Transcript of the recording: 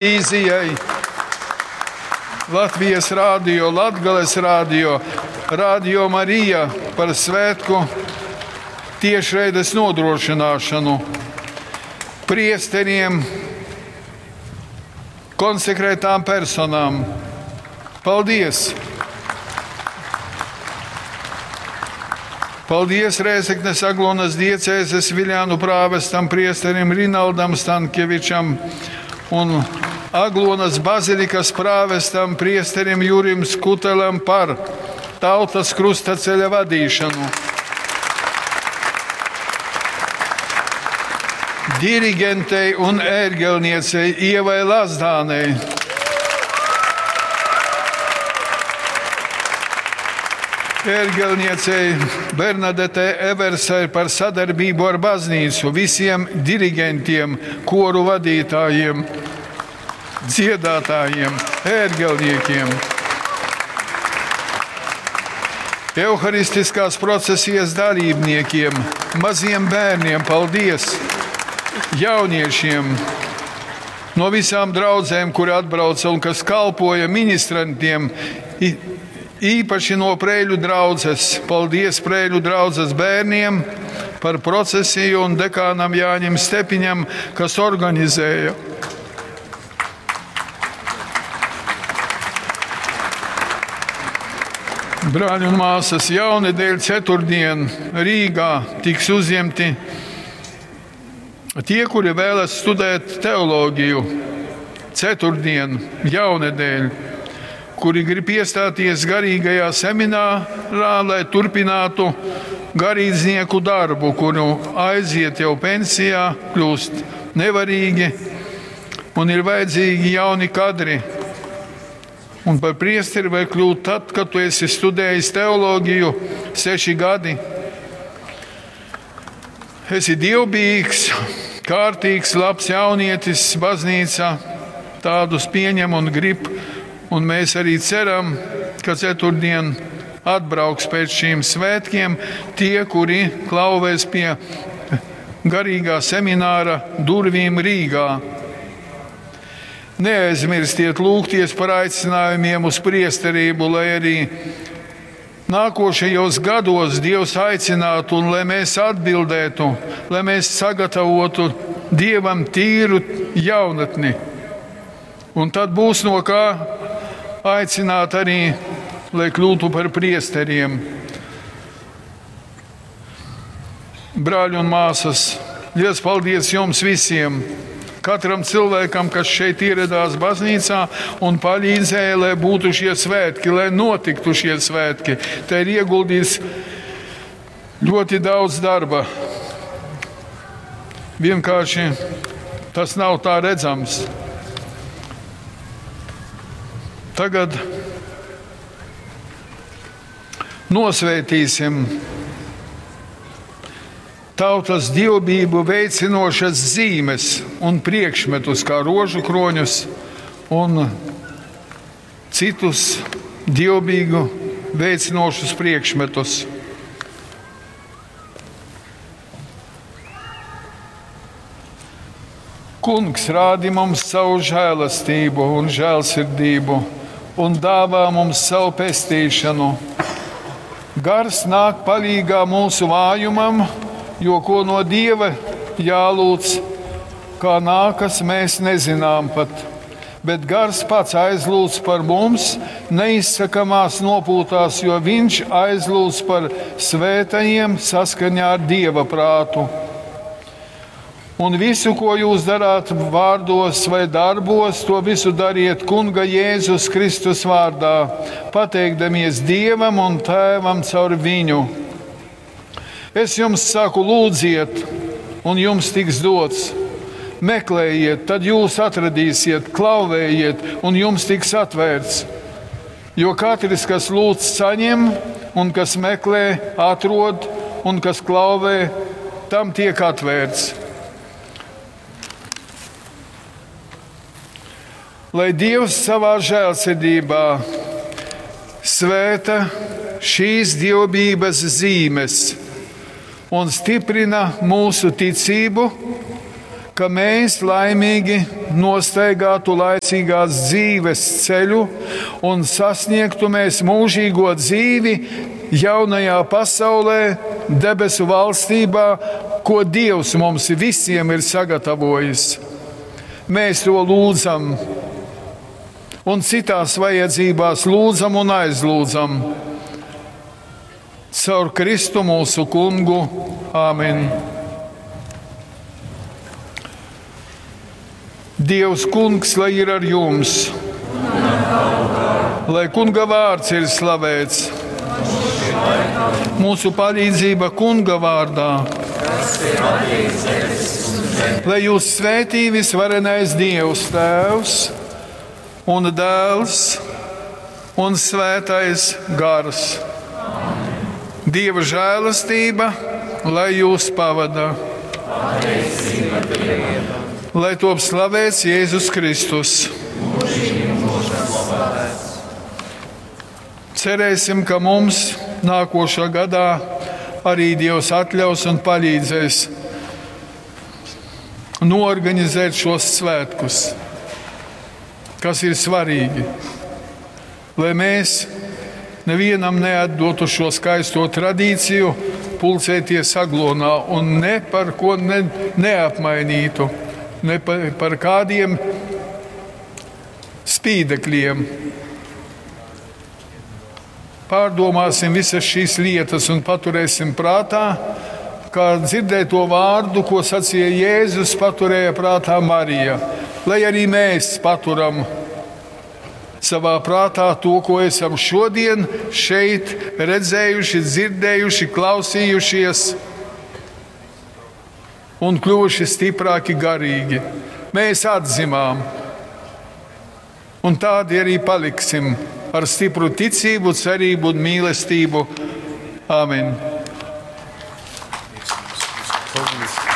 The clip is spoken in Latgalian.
Televīzijai, Latvijas Rādio, Latgales Rādio, Radio Marija par svētku tiešraides nodrošināšanu, priesteriem, konsekrētām personām. Paldies! Paldies Rēzeknes Aglonas diecēzes Viļānu prāvestam priesterim Rinaldam Stankievičam un Aglonas bazilikas prāvestam priesterim Jurim Skutelam par tautas krustaceļa vadīšanu. Dirigentei un ērgelniecei Ievai Lazdānei. Ērgelniecei Bernadetei Eversai par sadarbību ar baznīcu, visiem dirigentiem, koru vadītājiem, dziedātājiem, ērgelniekiem. Euharistiskās procesijas dalībniekiem, maziem bērniem, paldies! Jauniešiem no visām draudzēm, kuri atbrauca un kas kalpoja ministrantiem, īpaši no Prēļu draudzes. Paldies Prēļu draudzes bērniem par procesiju un dekānam Jāņim Stepiņam, kas organizēja. Brāļi un māsas, jaunedēļ ceturtdien Rīgā tiks uzņemti tie, kuri vēlas studēt teoloģiju. Ceturtdien, jaunedēļ, kuri grib iestāties garīgajā seminārā, lai turpinātu garīdznieku darbu, kuru aiziet jau pensijā, kļūst nevarīgi un ir vajadzīgi jauni kadri. Un par priesteri var kļūt tad, kad tu esi studējis teoloģiju 6 gadi. Esi dievbijīgs, kārtīgs, labs jaunietis, baznīca tādus pieņem un grib. Un mēs arī ceram, ka ceturtdien atbrauks pēc šīm svētkiem tie, kuri klauvēs pie garīgā semināra durvīm Rīgā. Neaizmirstiet lūgties par aicinājumiem uz priesterību, lai arī nākošajos gados Dievs aicinātu un lai mēs atbildētu, lai mēs sagatavotu Dievam tīru jaunatni. Un tad būs no kā aicināt arī, lai kļūtu par priesteriem. Brāļi un māsas, liels paldies jums visiem! Katram cilvēkam, kas šeit ieradās baznīcā un palīdzēja, lai būtu šie svētki, lai notiktu šie svētki. Te ir ieguldīts ļoti daudz darba. Vienkārši tas nav tā redzams. Tagad nosvētīsim tautas dievbijību veicinošas zīmes un priekšmetus, kā rožu kroņus un citus dievbijību veicinošus priekšmetus. Kungs, rādi mums savu žēlastību un žēlsirdību un dāvā mums savu pestīšanu. Gars nāk palīgā mūsu vājumam, jo ko no Dieva jālūdz, kā nākas, mēs nezinām pat. Bet gars pats aizlūdz par mums neizsakamās nopūtās, jo viņš aizlūdz par svētajiem saskaņā ar Dieva prātu. Un visu, ko jūs darāt vārdos vai darbos, to visu dariet Kunga Jēzus Kristus vārdā, pateikdamies Dievam un Tēvam caur viņu. Es jums saku, lūdziet, un jums tiks dots. Meklējiet, tad jūs atradīsiet, klauvējiet, un jums tiks atvērts. Jo katrs, kas lūdz, saņem, un kas meklē, atrod, un kas klauvē, tam tiek atvērts. Lai Dievs savā žēlsirdībā svēta šīs dievbijības zīmes un stiprina mūsu ticību, ka mēs laimīgi nostaigātu laicīgās dzīves ceļu un sasniegtu mēs mūžīgo dzīvi jaunajā pasaulē, debesu valstībā, ko Dievs mums visiem ir sagatavojis. Mēs to lūdzam un citās vajadzībās lūdzam un aizlūdzam. Caur Kristu mūsu kungu. Āmen! Dievs kungs, lai ir ar jums! Lai kunga vārds ir slavēts! Mūsu palīdzība kunga vārdā! Lai jūs svētī visvarenais Dievs, Tēvs un Dēls un Svētais Gars. Dieva žēlastība, lai jūs pavada. Lai top slavēts Jēzus Kristus. Cerēsim, ka mums nākošā gadā arī Dievs atļaus un palīdzēs noorganizēt šos svētkus, kas ir svarīgi, lai mēs nevienam neatdotu šo skaisto tradīciju pulcēties Aglonā un ne par ko ne, neapmainītu, ne par, par kādiem spīdekļiem. Pārdomāsim visas šīs lietas un paturēsim prātā, kā dzirdēto vārdu, ko sacīja Jēzus, paturēja prātā Marija. Lai arī mēs paturam savā prātā to, ko esam šodien šeit redzējuši, dzirdējuši, klausījušies un kļuvuši stiprāki garīgi. Mēs atzimām, un tādi arī paliksim ar stipru ticību, cerību un mīlestību. Āmen! Paldies.